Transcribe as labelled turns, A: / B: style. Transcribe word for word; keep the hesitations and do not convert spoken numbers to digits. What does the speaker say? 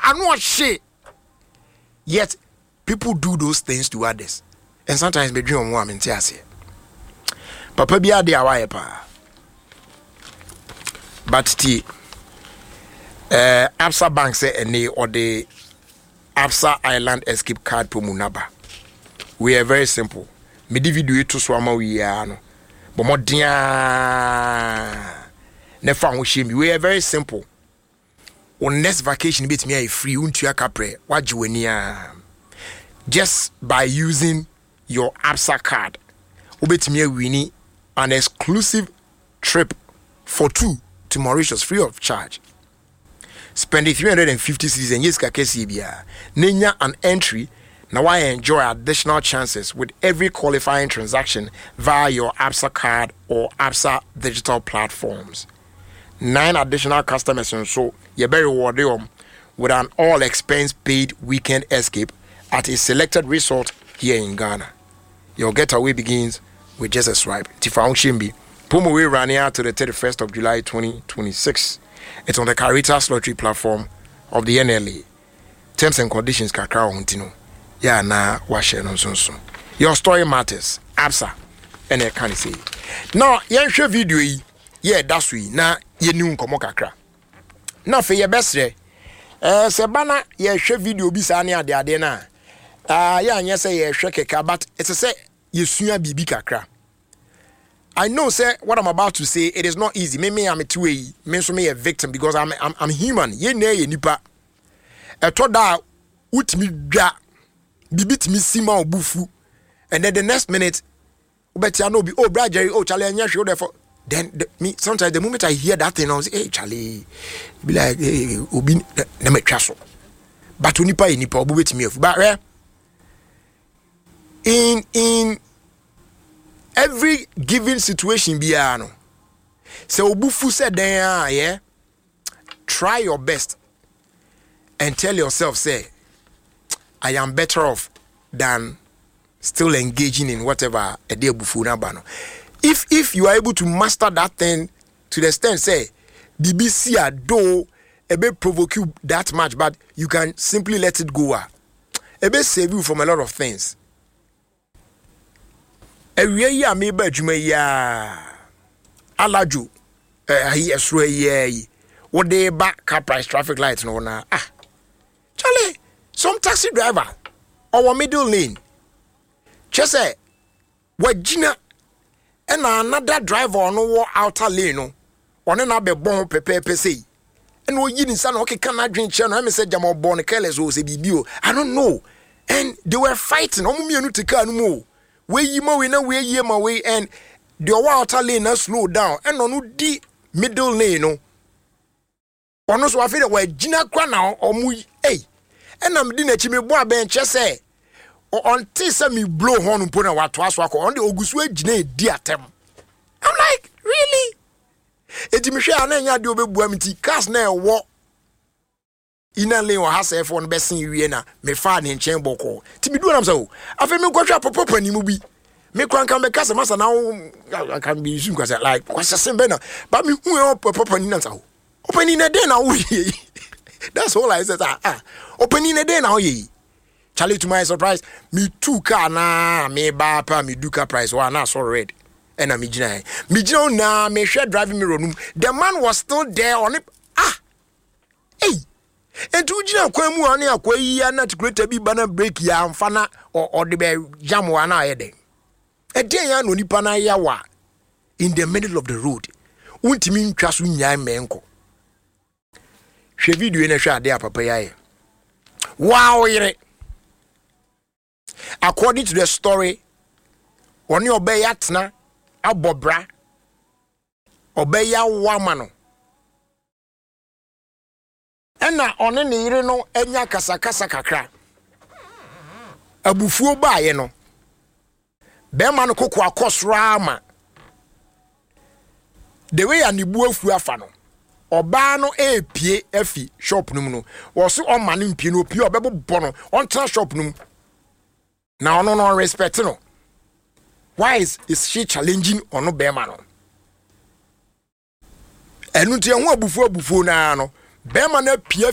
A: Ano ɔhye, yet people do those things to others, and sometimes medwene wɔn a mente aseɛ. Papa bi ade a wayɛ paa, but tie, uh, Absa Bank sɛ ɛne ɔde Absa Island Escape Card promo naba. We are very simple. Mede video yi to so ama wo yiaa no, bɔ mmɔden a na fa ho hyɛ mi. We are very simple. Wo next vacation bɛtumi ayɛ free, wontua kaprɛ, wagye w'ani a, just by using your Absa card, wobɛtumi awin an exclusive trip for two to Mauritius free of charge. Spend three hundred fifty cedis and sika kɛseɛ biara na nya an entry na why enjoy additional chances with every qualifying transaction via your Absa card or Absa digital platforms. Nine additional customers nso yɛbɛ reward them with an all expense paid weekend escape at a selected resort here in Ghana. Your getaway begins with just a swipe. Tifa bi. Promo will run out to the thirty-first of July twenty twenty-six. It's on the Caritas Lottery platform of the N L A. Terms and conditions kakra wɔ ho nti no, yɛ anaa wahyɛ no nso nso. Your story matters. Absa ɛna ɛka ne sɛ. Now yɛnhwɛ video yi yɛ ɛda so yi na yɛni nkɔmmɔ kakra. Na afei yɛbɛsrɛ ɛɛ sɛ ba na yɛhwɛ video bi saa ne adeade no a, aa yɛ anyɛ sɛ yɛhwɛ kɛkɛ, but ɛsɛ sɛ yɛsua biribi kakra. I know sɛ what I'm about to say, it is not easy. Me me am two yi, me nso me yɛ victim because I'm I'm, I'm human. Yɛn nyinaa yɛ nipa. Ɛtɔ da a wotumi dwa biribi tumi si ma ɔbu fu, and then the next minute wobɛtia no obi, "Oh, bra Jerry, oh Charlie, ɛnyɛ hwee wodɛ." Then the, me sometimes, the moment I hear that thing, I say, "Hey Charlie," be like, "Hey obi na matwa so." But onipa yɛ nipa, ɔbo bɛtumi afu. But eh, in in every given situation biara no, sɛ obu fu sɛ dan a yɛ, try your best and tell yourself sɛ, "I am better off than still engaging in whatever ɛde abufuo no aba no." If if you are able to master that thing to the extent sɛ biribi si a, though ɛbɛ provoke you that much, but you can simply let it go a, ɛbɛ save you from a lot of things. Awia yi a meba adwuma yi a, Alajo ayi ɛsoro ayi ayi wode ba Car Price traffic light no na, ah Charlie, some taxi driver ɔwɔ middle lane, kyɛ sɛ wagyina, ɛna another driver ɔno wɔ outer lane no, ɔne na abɛbɔ ho pɛpɛɛpɛ sei, ɛna oyi ne nsa na ɔkeka n'adwene kyerɛ no, ɛmɛ sɛ gyama ɔbɔ no careless o, sɛ biribi o, I don't know, and they were fighting. Ɔmo mmienu te car no mu o, weyi ma wei na wei yie ma wei, and deɛ ɔwɔ outer lane na slow down, ɛna ɔno di middle lane no, ɔno nso afei de wagyina kora na ɔmo yi, ei, ɛna medi n'akyi mebɔ abɛn, kyɛ sɛ ɔnte sɛ me blow horn mpo na watoa so akɔ. Ɔno de ogu so agyina edi atɛm. I'm like, "Really?" Eti mehwɛ a, na ɛnyɛ adeɛ ɔbɛbua mi, nti cars na ɛwɔ inner lane wɔ ha sɛɛfoɔ no bɛsen wie na mefaa ne nkyɛn bɔkɔɔ. Nti medu nam sɛ o, afei menkɔhwɛ apɔpɔ panimu bi, mekora nka mɛka sɛ masa na wo nka mesu nka sɛ like kwasɛsɛm bɛ na ba mehu ɛ ɔpɔpɔ panin nam sɛ o, ɔpanin na dɛn na woyɛ yi? That's all I said. Ah ah, ɔpanin na dɛn na woyɛ yi? Charlie, to my surprise, me tu car na me ba pa me du Car Price wa na so red, ɛna me gyina me gyina hɔ na mehwɛ driving mirror no mu, the man was still there on it. Ah, hey, nti wogyina kwan mu a ne akwa yi a na creator bi ba na brake yi amfa na ɔde bɛ jam wa na ayɛ dɛn? Ɛdeɛn ya na onipa no ayɛ wa in the middle of the road, wontumi ntwa so nyae mmɛnkɔ? Hwɛ video yi na hwɛ adeɛ a papa yi ayɛ. Waa ɔyere, according to the story, ɔne ɔbɛyɛ atena abɔ bra, ɔbɛyɛ awo ama no, ɛna ɔne ne yere no anya kasakasa kakra. Abufuo baeɛ no, bɛrima no koko akɔ soro ama the way a ne bu afu afa no, ɔbaa no epie afi shop no mu no, wɔso ɔma no mpie no, opie ɔbɛbobɔ no, ɔntena shop no mu na ɔno no ɔrespect no. Why is, is she challenging ɔno bɛrima no? Ɛno nti ɛho abufuo abufuo naa no, bɛrima no apue.